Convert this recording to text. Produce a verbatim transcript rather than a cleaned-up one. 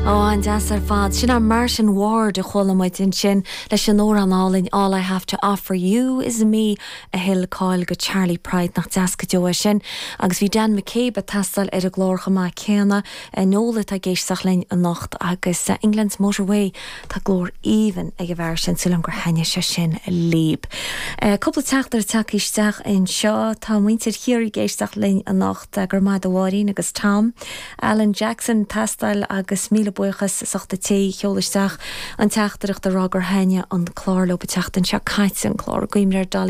An-deas ar fad sin an Martin Ward a chuala muid ansin leis an amhrán álainn all I have to offer you is me a thuill cáil do Charley Pride nach deas go deo sin, agus bhí Dan McCabe ag taisteal ar an gclár chomh maith céanna Nola tá ag éisteacht linn anocht agus uh, England's Motorway tá glór aoibhinn ag an bhfear sin súil gur thaitnigh sé sin libh. Uh, cúpla teachtaireacht tagtha isteach anseo tá muintir Chiarraí ag éisteacht linn anocht uh, gur maith Mháirín agus Tom. Alan Jackson taisteal agus míle buíochas as ucht té sheol isteach an teachtaireacht a rá gur thaitnigh an clár leo an tseachtain seo caite an clár Gaimréir Dolly